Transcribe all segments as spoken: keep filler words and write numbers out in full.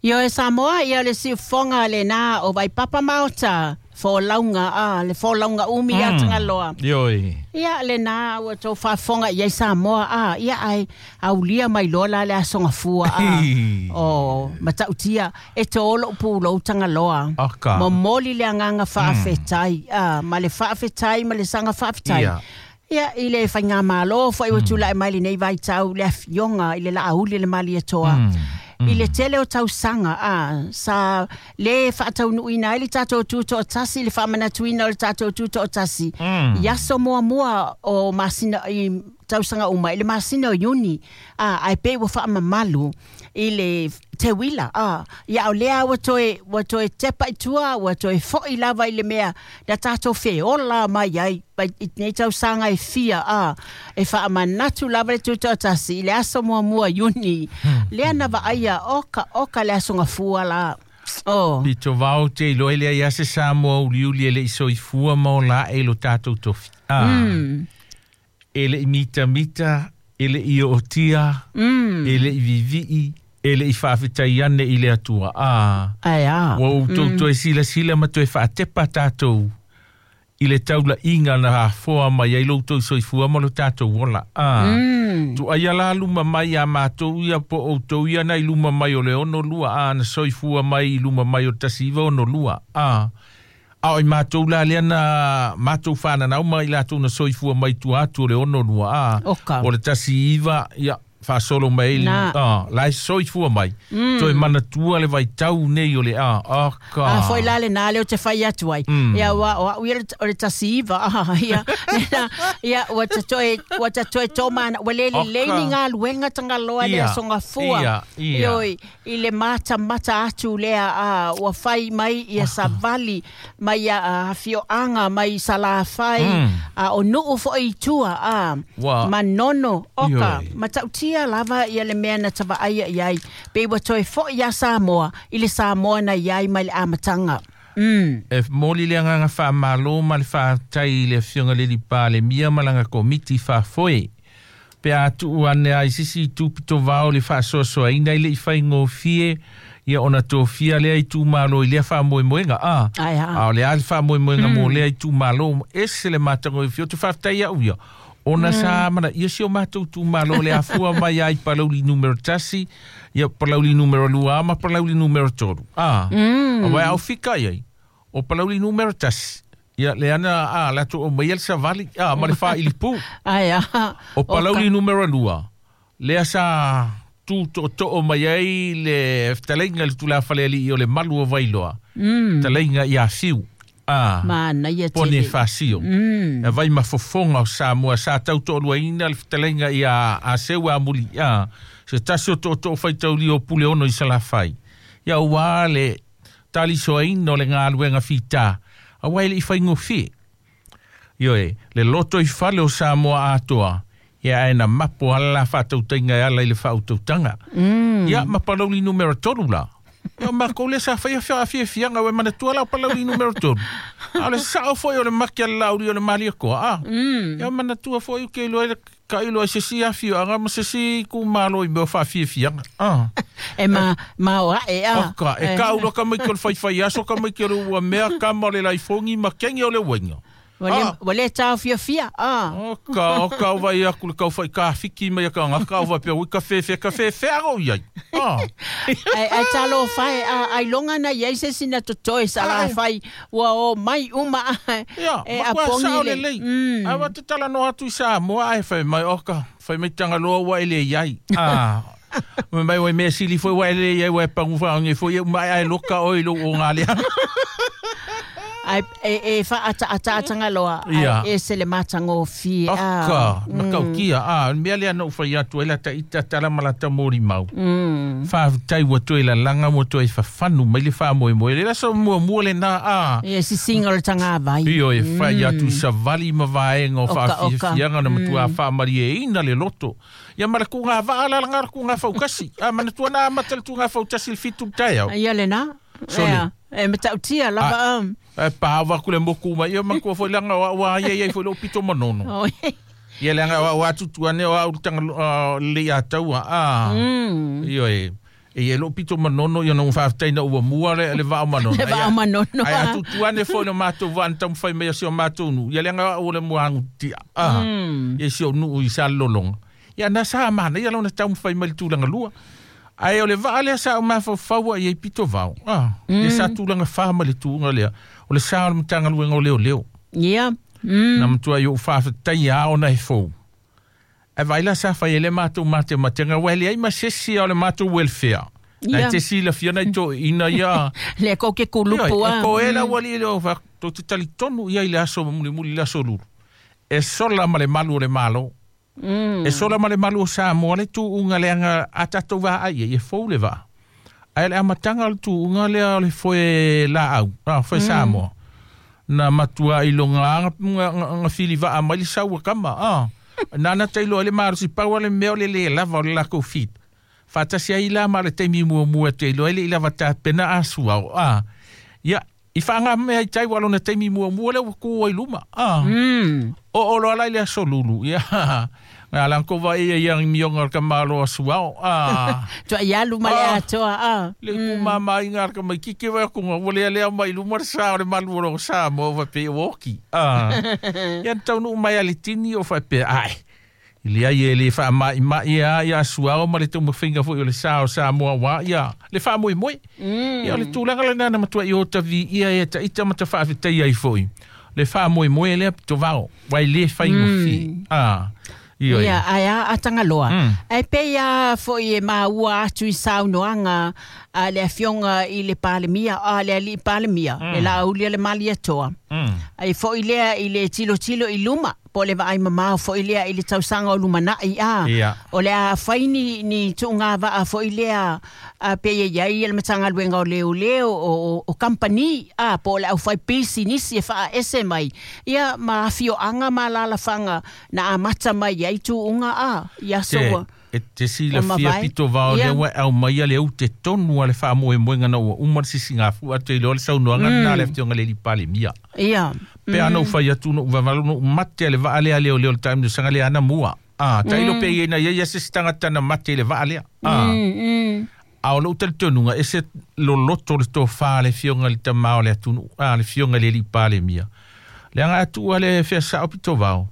Io e Samoa, ia le siufoga lena o Vaipapa Maota, folauga a le folauga umi mm. ia Tagaloa. Ioe. Ia lena ua tou faafofoga i ai Samoa a ia ai aulia mai loa la le aso gafua a o Matautia e to lou pulou Tagaloa. Oka. Momoli le agaga faafetai a ma le faafetai ma le saga faafetai. Ia. Ia i le faigamalo fo'i ua tula'i mai lenei vaitau le afioga i le Laauli le Malietoa. Mm. I le tele o tausaga a sa le faataunuuina ai le tatou tutoatasi le faamanatuina o le tatou tutoatasi Mm. i aso muamua o masina i tausaga uma i le masina o Iuni a ae pei ua faamamalu i le teuila a ia o lea ua toe ua toe tepa i tua ua toe fo'i lava i le mea na tatou feola mai ai mai i nei tausaga e fia a e faamanatu lava le tutoatasi i le aso muamua Iuni lea na vaaia oka oka le aso gafua la. Oh. Pito vao te iloa i lea ia se Samoa uliuli e le i soifua ma o la e lo tātou tofi. Ah. Mm. E le i mitamita, e le i ootia, Mm. e le i vivii, e le i faafetai ane i le Atua. Ah. Ai a. Ua outou toe silasila ma toe faatepa tātou i le taulaiga na afoa mai ai lo outou soifua ma lo tātou ola. Ah. Mm. Tuaia la luma mai a mātou ia po outou ia na i luma mai o le ono lua a na soifua mai i luma mai o tasi iwa ono lua a. A o i mātou la lea na mātou whananau mai lātou na soifua mai tua atu o le ono lua a. Oka. O le tasi iwa ia faasolo mai Na. a, la e soifua mai. Mm. Toe manatua le vaitau nei o le a. Oka. A foi la le nā leo te whai atu ai. Mm. Ia wa o au ia le- o le tasi iwa. Ah, ia, nena, ia, ua ta toe, ua ta toe tō mana. Ua lele Oka. leini ngā luenga Tagaloa le Ia, aso gafua. ia, ia. Ioi, i le mata mata atu lea, a, ua whai mai ia savali, mai ia a, fioanga, mai Salafai, Mm. a, o nuu foi i tua, a, Wa- Manono, oka, Ioi. Matautia lava ia le mea na tavaaia i ai. Pe ua toe fo'i ia Samoa, i le Samoa na iai mai le amataga. Mm. E moli le anganga whaamalo ma le whaatai i le afioga le lipa le mia malanga komiti whaafoe. Pe a tuu ane ai sisi i tūpito vao le whaasoasoaina i le i whaingofie ia ona tofia lea i tūmalo i lea whaamoemoenga. A, Ai a. a o le a le whaamoemoenga mm. mō lea i tūmalo ese le mātango i whio te whaatai au ia. Ona mm. sa mana, ia si o mātou tūmalo le afua mai ai palauli numero tasi, ia palauli numero lua ma palauli numero toru. A, Mm. a wai au fika iai, o palauli numero tasi. Ia le ana, a, la tu o mai el savali, a, ma le wha ilipu. Ai a. O palauli numero lua, lea sa tū to to o mai ai le ftaleinga le tula whaleali i o le malu o Vailoa. Mm. Taleinga i a fiu. A, Mana ia pone tele. whasio. Mm. E vai mafofonga o Samoa sa tau toaluaina le fetalaiga ia a seu a muli a se tasi o tootoo faitauli o pule ono i Salafai. Ia uā le talisoaina o le galuega fitā auā e leʻi faigofie. Ioe, le loto i fale o Samoa atoa, ia ae na mapo ala la faatautaiga e ala i le faautautaga. Mm. Ia ma palauli numero tolu la. Ia makou le sa faia faafiafiaga ua e manatua la o palauli numero tolu. A o le sao foi o le maki a le lauli o le maliakoa a. Mm. Ia manatua foi o ke iloa i le ka iloa i se si afioaga ma se si kumalo i mea o faafiafiaga. A. E ma, ma o ae a. Oka, e kaulo ka mai ki o le faifai aso ka mai ki o le ua mea kama o le laifongi ma kengi o le uenga. Ua le, Ah. ua le taofiafia. Ah. Oka, oka o vai aku le kau whai ka whiki mai a ka ngaka o vai pea ui ka whewhea, ka whewhea o iai. Ah. Ai, ai talo whai, a, ai longa na iai se sina totoe sa la Ai. whai, ua o mai uma a, Ia, e ma kua apongi sao le. le lei. Mm. Ai wa te tala no atu i Samoa, ai whai mai oka, whai mai Tangaloa ua ele iai. Ah. Mai mai wai mea sili foi ua ele iai, ua e pangu whaonge foi, mai ai loka oi lo o ngā lea. Ai, e, e wha ata ata atanga loa, ai Ia. e se le matangofie. Oka, makaukia, ah, mea lea na uwhai atu, ai lata ita tala ma lata mori mau. Mm. Whaatai ua toe la langa mua toe whawhanu mai le whaamoe moe. Le laso mua mua le nā a. Ia sisinga o le tagavai. Io e whai atu savali ma vaenga o Oka, oka. whaafiafiaga na matua whaamari e ina le loto. Ia mara ku ngā vaa la ngā ku ngā whaukasi. A mana tua nā mata le tu ngā whautasi le fitu tai au. Ia le nā. Sole. Ia, E matautia lava. um. E pāwa ku le moku mai. Ia makua foi langa wa wa ia ia foi lo pito manono. Oh, Ia langa wa wa tutu ane o au tanga uh, le ia taua. A. Mm. Io e. E e lo pito manono ia no faafetai na ua mua le le vao manono. Le vao manono. Ai atu tuane foi no matou vaa na taumafai mai si o matou nu. Ia leaga o le muagu tia. Ah. Ia si o nu i sa lolonga. Ia na sa mana ia lona taumafai mai le tulaga lua. Ai o le vaa lea sa o mafaufau ia i pito vao. Ah. Ia sa tulaga fa ma le tuuga lea. O le sa o le Matagaluega o Leoleo. Ia. Mm. Na matua i o faafetai a ona e fou. E vai la sa fai ele matou matematenga wa le ai ma sesi o le matou welfare. Ia. Na te si la fiana i to ina ia. Le ko ke kulupu a. E ko ela wali le o fa to te talitonu ia i le aso muli muli le aso lulu. E sola ma le malu o le malo. Mm. E sola ma le malu o Samoa le tuuga leaga a tatou vaai e fou le vaa. Ai le amatanga o le tuuga lea o le foe laau, ah, foe Samoa. Na matua i longa nga fili vaa mai le saua kama. Ah. Nana tailo le malosi pau le mea o le le lava o le lako fit. Fatasi ai la ma le taimi muamua tailo ai le i lava tapena asua o. Ah. Ia, i whaanga mea i tai walo na taimi muamua le waku ai luma. Ah. Mm. O o lo ala i le aso lulu. Ia. Nga lanko vai ia ia mionga o ka malo asua o. Ah. Tua ia luma le atoa. Ah. Le ku mama i ngā ka mai kike vai kunga. Wale alea mai luma le sa o le malu o lo sa mo wa pe oki. Ah. Ia taunu mai ale tini o fa pe ai. Ile ai e le wha mai mai ia ia asua o ma le taumafaiga foi o le sa o Samoa wa ia. Le wha moi moi. Mm. Ia o le tulaga le nana matua i o tavi ia e ta ita mata whaafetai ai foi. Le wha moi moi lea pito vao. Wai le whai ngofi. Ah. Io Ia, aia a Tangaloa. Mm. Ai pe ia foi e maua atu i saunoaga a le afioga i le Palemia, a le alii Palemia, Mm. le laaulia le Malietoa. Mm. Ai foi lea i le tilotilo i luma, po le vaai mamao foi lea i le tausaga o lumanai a. Ia. O le a fai ni, ni tuuga vaa foi lea a pe ia iai le Matagaluega o Leoleo o, o, o kampani a po o le au fai pisinisi e faaese mai. Ia ma afioaga ma alalafaga na amata mai ai tuuga a ia Te, soa. e te sila O fia mavae. pito vao Ia. lea ua au mai le au te tonu a le faamoemoega na ua uma le sisigafu atu i loa le saunoaga na le afioga le Palemia. Ia. Pe ana ufai atu no uvavalo no mate le vaa lea leo leo le taimi sanga le ana mua. Ah, tailo pe ia na ia ia se tangata na mate le vaa lea. Ah. Mm, mm. A o lou talitonuga e se loloto le tofā le fioga le tamā o le atunuu a le fioga le alii Palemia. Leaga atua le feasao pito vao.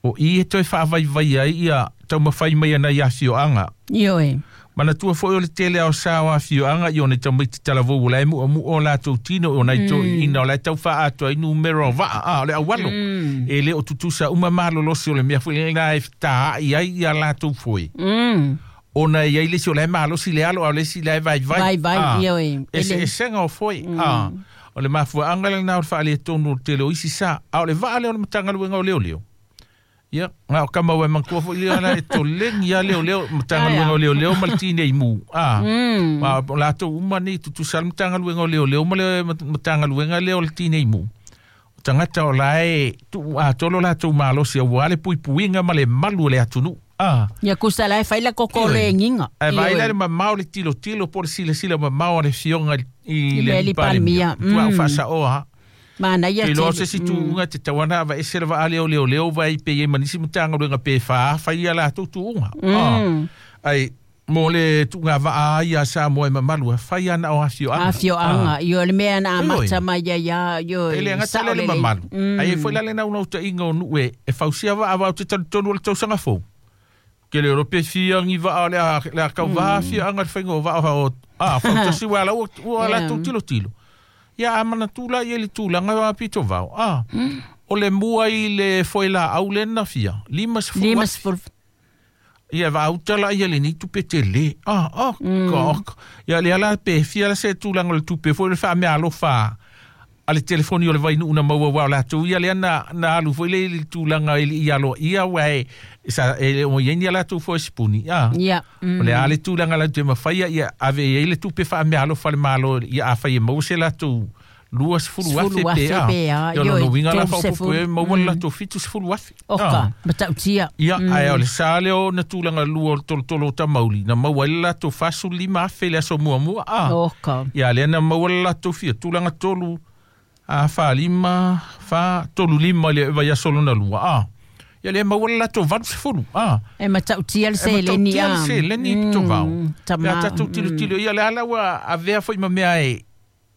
O i e toe faavaivai ai ia taumafai mai ana i afioaga. Ioe. Manatua foi o le tele ao sa o afioaga i ona tamaiti talavou o lae mu'amu'a o latou tino o nai toe'ina o lae taufa'atoa ai numera o va'a a o le aualo. Mm. E le o tutusa uma malolosi o le mea foi lena e feta'a'i ai ia latou foe. Mm. Ona e iai le isi o lae malosi le alo a o le isi lae vaivai. Vaivai, Ah. ioe. Ese Ele- esega o foe. Ah. O le mafua'aga lena o le faaletonu o le tele o isi sa. A o le va'a lea o le Matagaluega o Leoleo. Ia, nga o kama ua mangkua foi lea la e tolegi ia leoleo, Matagaluega o Leoleo ma le tinei mu. Ah. Mm. Ma o latou uma nei tutusa le Matagaluega o Leoleo ma le Matagaluega lea o le tinei mu. O tagata o lae tuu atoa lo latou malosi auā le puipuiga ma le malu o le atunuu. Ah. Ia kusa la e fai la koko Ioe. le nginga. Ae vaai Ioe. la le mamao le tilotilo po le silasila mamao a le fioga i I le le alii alii Palemia. Palemia. Tua o Mm. faasaoa. Mana ia Te loa tele. se si tuuga te tauana ava ese le vaa leo leo leo vai pe ia manisi matagaluega pe faafa ia latou tuuga. Mm. Ah. Ai mo le tuuga vaa ia Samoa e mamalu e fai ana o afioaga. Afioaga. Io le mea na Ioe. amata mai ia ia ioe. E le gata Sao le le lelei. mamalu. Mm. Ai e foi la le naunautaiga o nuu e e fausia vaa vao te talitonu o le tausaga fou. Ke le ro pe fia ngi vaa o le a le a kau vaa afioaga le faiga o vaa o a fautasi ua la ua ua Yeah. latou tilotilo. Ia a manatu la ia i le tulaga o apito vao. Ah. O le mua i le foe laau le na fia. Lima sefulu Lima afe. sefulu. Ia vaauta la ia lenei tupe tele. Ah, ah, mm. Ia le ala pe fia la se tulaga o le tupe foi le faamealofa a le telefoni o le vainuu na maua ua o latou ia lea na, na alu foi le i le tulaga i le i aloa ia ua e sa e le o iai ni a latou foi sipuni. Ah. Ia. O le a le tulaga la te mafaia ia ave i ai le tupe faamealofa le malo ia afai e maua se latou lua sefulu afe Sefulu pe afe a. pe a. Ia lona Ioe, uiga la tolu faaopoopo sefulu. e maua le latou fitu sefulu afe. Oka. Ah. Matautia. Ia, ae o le sa lea o na tulaga lua o le tolotolo o tamauli, na maua ai le latou fasefulu lima afe le aso muamua. Ah. Oka. Ia, lea na maua le latou fia, tulaga tolu, a fa lima, fa tolu lima le vaiaso lona lua. Ah. Ia le maua le latou valu sefulu a e matautia le seleni a le seleni pitovao pe a tatou tilotilo ia le ala ua avea foi ma mea e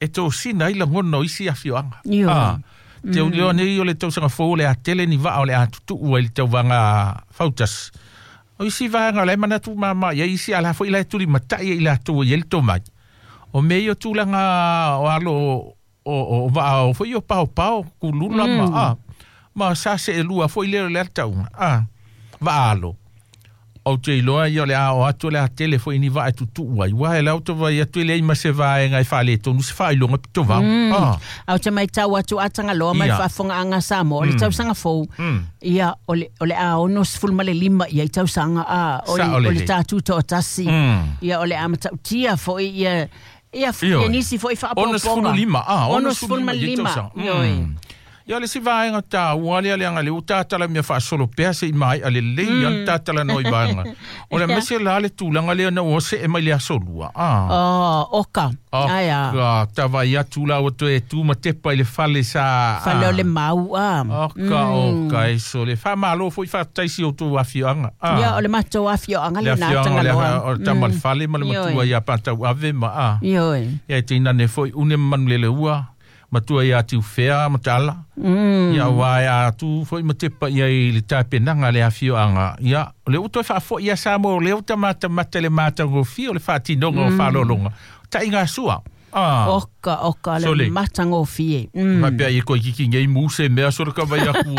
e tosina ai lagona o isi afioaga a te ulio nei o le tausaga fou le a tele ni vaa o le a tutuu ai le tauvaga fautasi o isi vaega o le manatu mama ia isi ala foi la e tulimatai ai latou i ai le tomai o mea ia o tulaga o alo o o vaa o foi o paopao kulula ma a ma sa se elua foi le le tauga a vaalo o te iloa ia o le a o atu le a tele foi ni vaa e tutuu ai ua e lau to vai atu le ma se vaega e faaletonu se faailoga pitovao a au te maitau atu a Tagaloa ma le faafofogaaga Samoa o le tausaga fou ia o le o le a ono sefulu ma le lima ia i tausaga a o le o le tatou toatasi ia o le a matautia foi ia ia ia nisi foi faaopoopoga ono sefulu lima a ono sefulu ma lima ioe ia le si vaega taua lea leaga le utatala mea faasolo pea se i mai a lelei a le tatala noi vaega o le mese la le tulaga lea na ua see mai le aso lua a oh oka aia ka tavai atu la ua toe tu ma tepa i le fale sa fale o le mau a oka oka e so le faamalo foi faataisi o tou afioaga a ia o le matou afioaga lena Tagaloa o le tama le fale ma le matua ia patau ave ma a ioe ia e teinane foi une manu lele ua matua ia tiufea matala mm. ia ua ia tu foi ma tepa ia i le tapenaga le afioaga ia o le uto e faafoi ia Samoa o le uta matamata le matagofie o le faatinoga o faalologa taʻiga sua ah oka oka le matagofie mm. Faapea ia koe kiki nei mu se mea so le ka vai aku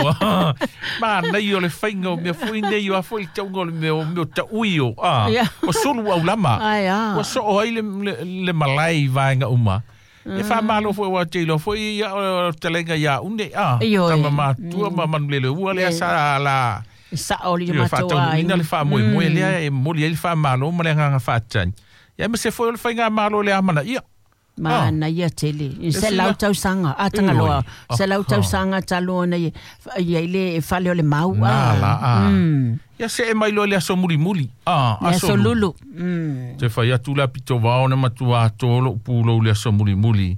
ma nei o le faiga o mea foi nei o a foi le tauga o le mea o mea taʻui o ah o sulu aulama ua soo ai le, le, le malae i vaega uma e faamalo foi ua te iloa foi ia o talega ia une a tama matua ma manulele ua lea sa la sao le matua faataunuuina le faamoemoe lea e momoli ai le faamalo ma le agaga faatani ia ma se foi o le faigamalo le amanaia ma na ia tele se lau tausaga a Tagaloa se lau tausaga talu ona ia i le fale o le mau a la a ia se e mai loa le aso mulimuli a aso lulu te fai atu la pitovao na matua atoa lou pulou le aso mulimuli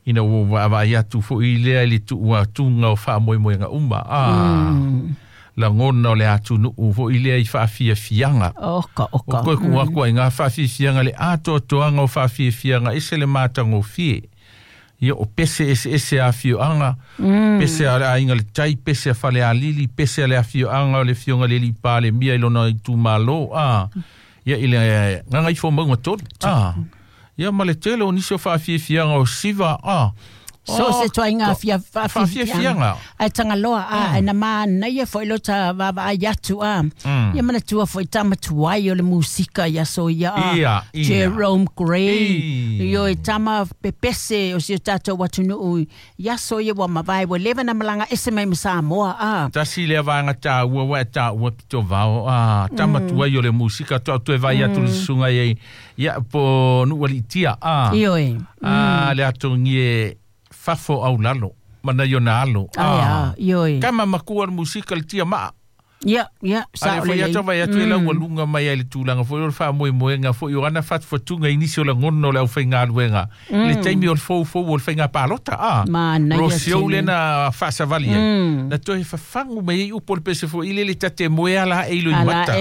ina ua vaavaai atu foi lea i le tuuatuga o faamoemoega uma a lagona o le atunuu foi lea i faafiafiaga oka oka o koe kuu aku ai gā faafiafiaga le atoatoaga o faafiafiaga ese le matagofie ia o pese eseese afioaga pese a le aiga le tai pese a Falealili pese a le afioaga o le afioga le alii Palemia i lona itumalo a ia i le gagaifomauga tolu a ia ma le tele o nisi o faafiafiaga o siva a So se toainga fia faafiafiaga ai Tagaloa a na manaia foi lo ta vaavaai atu a ia manatua foi tamatuai o le musika ia so ia a Jerome Gray io e tama pepese o si o tatou atunuu ia so ia ua mavae ua leva na malaga ese mai ma Samoa a tasi lea vaega taua ua e taua pitovao a tamatuai o le musika toa toe vai atu le susuga ai ia po nuu aliitia a ioe a le atogi e fafo au lalo mana i ona alo ah ioi kama makua le musika le tia maa ia ia sa o le atu vai atu e lau lunga mai ai le tulaga foi o le faamoemoega foi o ana fatufatuga i nisi o lagona o le aufaigaluega le taimi o le foufou o le faiga palota a rosio lena faasavali ai na toe fafagu mai ai upu o le pese foi i le le tate moe ala e ilo i mata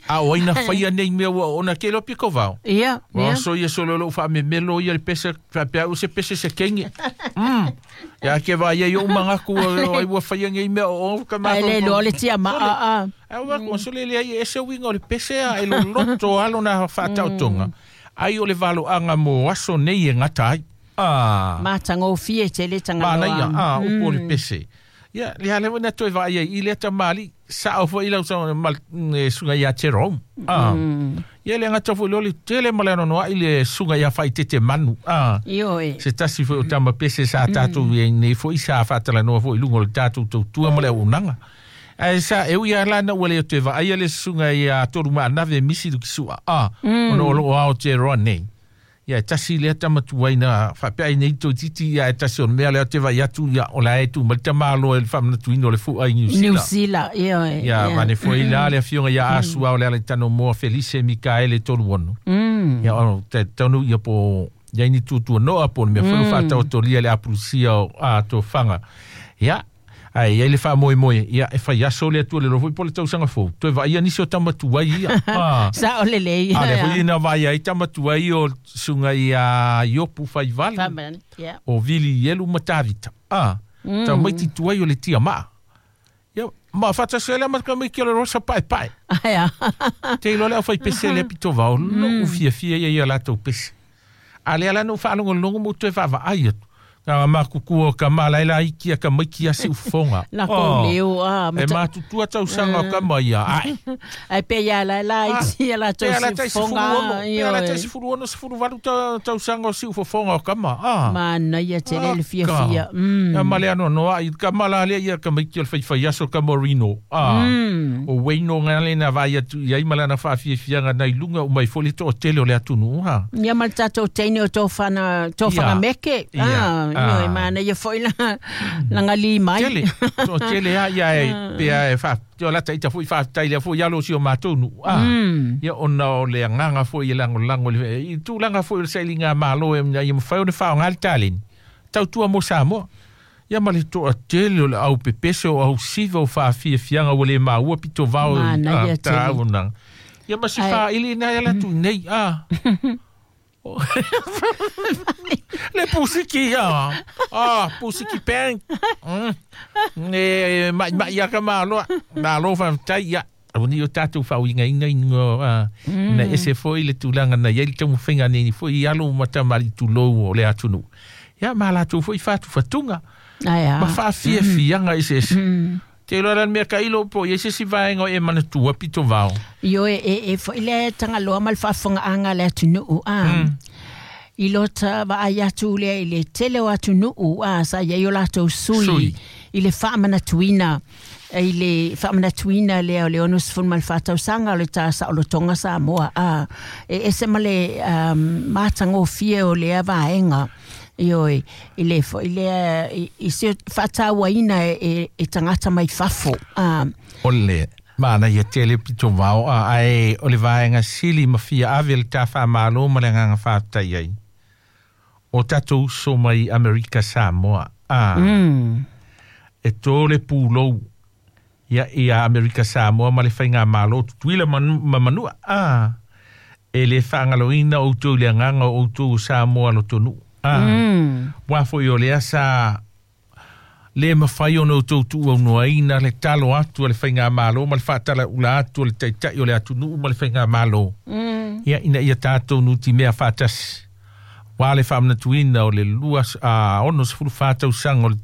a o aina faia nei mea ua ona ke loa piko vao ia ia so ia solo lou faamemelo ia le pese faapea o se pese se kenge ia ke vai ai o magaku ai ua faia nei mea o ka ai le loa le tia ma a a ai ua konsole le ai ese uiga o le pese a e loloto alo na faataotoga ai o le valoaga mo aso nei e gata ai a matagofie tele Tagaloa manaia a upu o le pese ia le ale na toe vaai ai i lea tamali sao foi lau sa suga ia Jerome a ia le gata foi le tele ma le anoanoaʻi le suga ia faitete manu a ioe se tasi foi o tama pese sa tatou i nei foi sa faatalanoa foi i luga o le tatou tautua ma le auaunaga ae sa e ui lā na ua le toe vaaia le susuga ia tolu maanave misi lukisua a ona o loo ao Aotearoa nei ia e tasi lea tamatuaina faapea ai nei toititi ia e tasi o le mea lea te vai atu ia o la e tu ma le tamālo e le faamanatuina o le fu'a i Niu Sila Niu Sila ioe ia vane foi la le afioga ia Asua o le ala tanomoa Felice Mikaele tolu ono ia o te taunu ia po ia ini tutuanoa po le mea foi o faataotolia le apulusia o a tofaga ia Ai ai le faamoemoe ia e faiaso le atua le loa foi po le tausaga fou toe vaaia nisi o tamatuai ia a Sa o lelei. A lea foi na vaai ai tamatuai o suga ia Iopu faivalu Yeah. o Vili Ielu ma Tavita a tamaiti tuai o le tiamaa ia ma faatasi ai lea ma tamaiti o le rosa paepae Aia. te iloa le aufaipese lea pitovao lou fiafia ia ia latou pese a lea la na ou faalogologo ma ou toe vaavaai atu Nga makuku o ka mala ela iki a ka maiki a si ufonga. La ko leo a E matutua tausaga o kama ia. Ai. Ai pe ia la la iti la Pe ala tai tau sefulu fonga. ono. Pe ala tai sefulu ono sefulu valu ta tausaga o si ufofonga o kama. Ah. Mana ia tele le fia Ka. fia. Mm. Ia male ano noa i ka mala lea ia ka maiki o le faifaiaso ka Morino. Ah. Mm. O Wayno nga le na vai atu ia i malana whaafiafianga nei lunga o mai foli to o tele o le atunu. Ha. Ia ma le tatou teine o tō whana, tō Ia. whana meke. Ia. Ah, Ah. io e mana ia foi la, la ngali mai. Tele, to tele a ia e pea e wha, te o lata ita fui wha tai lea fui alo si o mātonu. Ah. Mm. Ia ona o le anganga foi e lango lango le i tūlanga foi o le sailinga malo e ia mawhai o ne whao ngali taleni. Tautua mo Samoa. Ia ma le toa tele o le au pepese o au siva o whaafiafianga o le maua pito vao Mana ah, ia ta tele. au nanga. Ia ma si Ai. wha ili nai ala tu nei. Ah. Le pusiki ah. Ah, pusiki peng. Mm. E mai mai ia ka malo. Malo fa tai ia. Au ni o tātou whauinga inga ingo ah, na ese foi le tūlanga na ia le taumafaiga nei foi i alo ma tamali tulou o le atunuu. Ia ma latou foi whātuwhatunga. Aia. Ma whaafiafianga ese ese. Mm. Te iloa la le mea ka ilo po i ese si vaenga o e manatua pito vao. Io e e e foi le tangaloa ma le faafofogaʻaga le atunuu a. Mm. I lota vaai atu lea i le tele o atunuu a sa iai o latou sui, Sui. i le faamanatuina i le faamanatuina lea o le ono sefulu ma le fa tausaga o le tasaolotoga Samoa a e ese ma le um, matagofie o lea vaega ioe i le foi lea i, i se faatauaina e, e, e tagata mai fafo a O le mana ia tele pito vao a ai o le vaenga sili ma fia ave le tā whaamalo ma le nganga whaatai ai. O tātou uso mai Amerika Samoa. A, mm, e tō le pūlou ia ia Amerika Samoa ma le whainga malo tutuila manu, ma manua. A, e le whaangaloina o tō le nganga o tō Samoa lo tonu. A, mm, wā foi o le asa le mawhai ono tau tuu au noaina le talo atu o le whainga malo ma le whaatala ula atu o le taitai o le atunuu ma le whainga malo. mm. Ia ina ia tātou nu ti mea whaatasi. Wā le whaamanatuina o le lua a ono sefulu whātausaga o le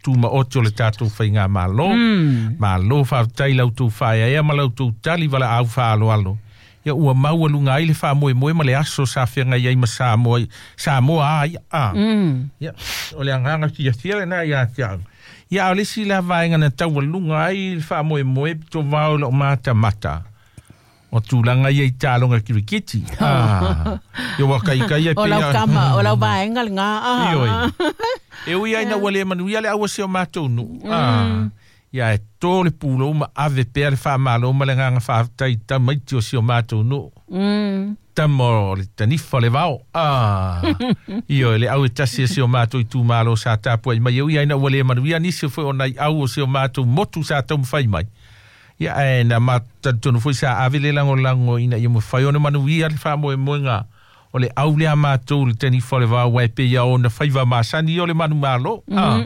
tūma ote o le tātou whainga malo. Mm. Malo whaatai lau tau whaea ea ma lau tau tali wala au whaaloalo. Ia ua maua lunga ai le whaamoemoe ma le aso sa whianga iai ma Samoa, Samoa ai. A. Mm. Ia, o le anganga fia fia le nā ia te au. Ia, o le si la vaenga na taua lunga ai le whaamoemoe pito vao lo mata mata. O tūlanga ia i tālonga kirikiti. Ah. Ia waka i kai e O lau pia. kama, o lau vaenga le ngā. Ah. Ioi. E ui ai na ua le manu ia le aua se o mātou nu. Ah. Ia e tō le pūlo ma ave pea le whaamalo ma le nganga whaatai tamaiti o si o mātou nu. Mm. Tama o le tanifa le vao. Ah. Io le au e tasi e si o mātou i tūmalo sa tāpua i mai. E ui ai na ua le manu ia nisi o foi o nai au o si o mātou motu sa tau mwhai mai. Ia e na mātanu foi sa ave le lango lango ina ia mwhai ona manu ia le whaamoe moenga. O le au le a mātou le tanifa le vao wai pe ia o na whaiva māsani o le manu malo. Ah.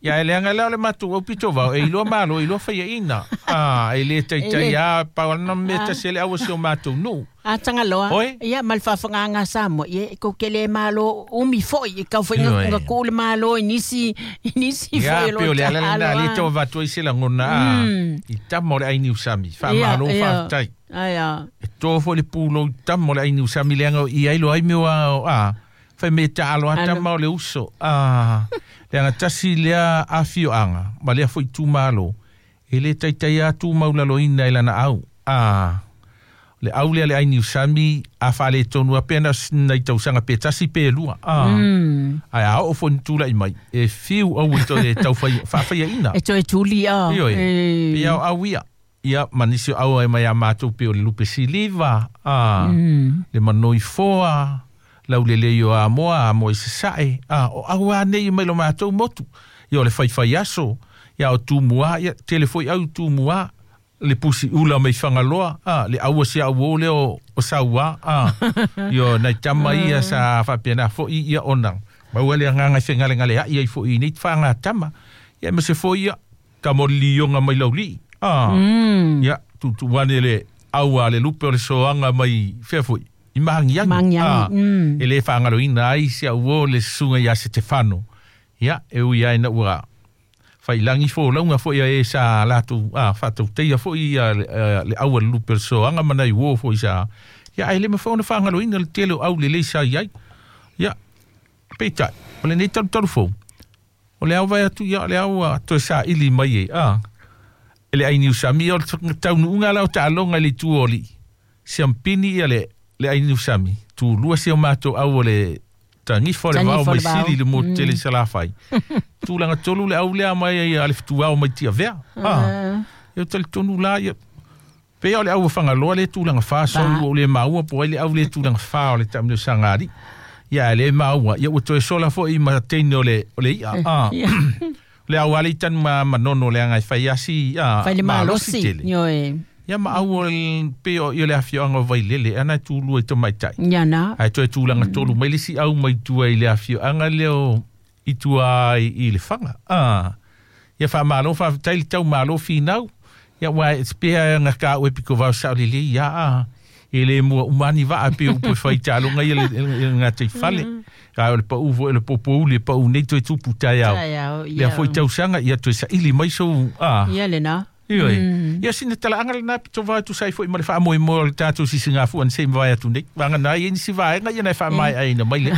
Ia e leanga lea o le mātou au pito vao. E iloa malo, e iloa whaia ina. Ah, e le taitai E le- a pau ana me tasi le au o si o mātou nu. A tangaloa. Oi. Ia ma le faafogaaga Samoa. Ia e ko kele malo umi foi e kau foi Ioe. nga ku le malo i nisi i nisi Ia, foi o pe o le lo ala lena, taalo, le ah. tau vatua i se langona. Ah, Mm. I tama o le aini usami. Ia, Whaamalo, ia. whaatai. Aia. E tō fo le pūlo i tama o le aini usami leanga o i ailo ai meo a, a. Whai me taalo a Alo. tama o le uso. Ah, leanga tasi lea awhio anga. Ma lea foi tūmalo. E le taitai a tūmaulalo ina e lana au. Ah, le au lea le aini usami a whaale tonu a pena nei tausanga pe tasi pe lua. Ah. Mm. Ai a o fo ni tūla i mai. E whiu au i tō e tau whai, whawhaia ina. E toe tuli a. Ioe. E. Pe au au ia. Ia manisi au ai mai a mātou pe o le lupe siliva. Ah, Mm. Le manoi foa. Lau le leo a moa, a moa i sasae. Ah, o au a nei mai lo mātou motu. Ia o le whaiwhai aso. Ia o Tumua, ia tele foi au Tumua, le pusi ula mai Fagaloa, a, le aua si au o leo o saua, a, io nai tama ia sa faapena foi ia ona. Maua le agaga i fegalegalea'i ai fo'i nei faga tama. Ia ma se foi ia, tamolilioga mai laulii. A, Mm. ia, tutuane le aua le lupe o le soaga mai fea foi. I magiagi. Magiagi, A, mm. e le faagaloina ai si au o le susuga ia Setefano. Ia, e ui ai na ua failagi folauga foi ia e sa latou a faatauteia foi ia le, eh, le aua le lupe o le soaga ma nai uō foi sa. Ia, ae le mafai ona faagaloina le tele o au lelei sa i ai. Ia, peitai, o lenei talutalu fou, o le au vai atu ia, o le au a toe saili mai e, a, e le ai niusami, o le taunuuga la o taaloga i le itu o alii. Siampini ia le, le ai niusami, tulua si o matou au o le tagifo le vao Tagifo mai le vao. sili le motu tele i Salafai. Tulaga tolu le au lea mai ai a le fetuao mai Tiavea. Ah, ia talitonu la ia pei o le au Fagaloa le tulaga fa soli ua ou le maua po ai le au le tulaga fa o le taamilosaga alii. Ia le maua, ia ua toe sola fo'i ma teine o le, o le i'a. Ah. Ia. Le au ale i tanu ma manono le aga e fai asi ah, Fai le malosi malosi. tele. Ioe. Ia ma au o le pei o i o le afioaga o Vailele ana e tulua i tamaitai. Ia na. Ae toe tulaga tolu mai le isi au mai tua i le afioaga lea o i tua i, i le Faga. Ah. Ia faamalo faafetai le taumalo finau. Ia ua e pea nga ka ue piko vau sao lelei ia a. E le mua umani vaa pe upu e fai taaloga ia le, le, le gatei fale. Ae o le pau foi le popouli e pau nei toe tupu taeao. Taeao, Lea ia. foi tausaga ia toe saili mai sou a. Ia le na. Ioe. Ia sina talaaga lenā pito va atu sai foi ma le faamoemoe o le tatou sisigafua na sei mavae atu nei. Vagana ai e nisi vaega ia na e faamaeaina mai lea.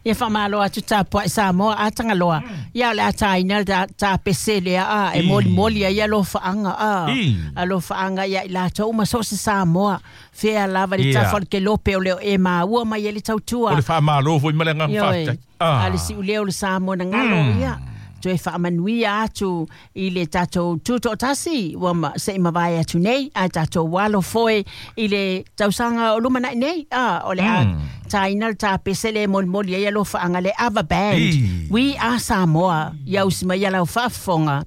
Ia faamalo atu tapua'i Samoa a tagaloa. Ia o le ataina le ta- tapese lea a e I. molimoli ai alofaaga a. I. Alofaaga ia i latou ma so o se Samoa. Fea lava le Ia. tafa o le kelope o leo e maua mai ai le tautua. O le faamalo foi ma le agaga Ioe. faafetai. Ah. A le si'ulea o le Samoa na galo ia. Toe faamanuia atu i le tatou tuto'atasi ua ma, se'i mavae atu nei ae tatou alo foe i le tausaga o lumana'i nei a o le a taina le tapese le molimoli ai alofaaga le Ava Band I. We Are Samoa ia usi mai ia lau faafofoga.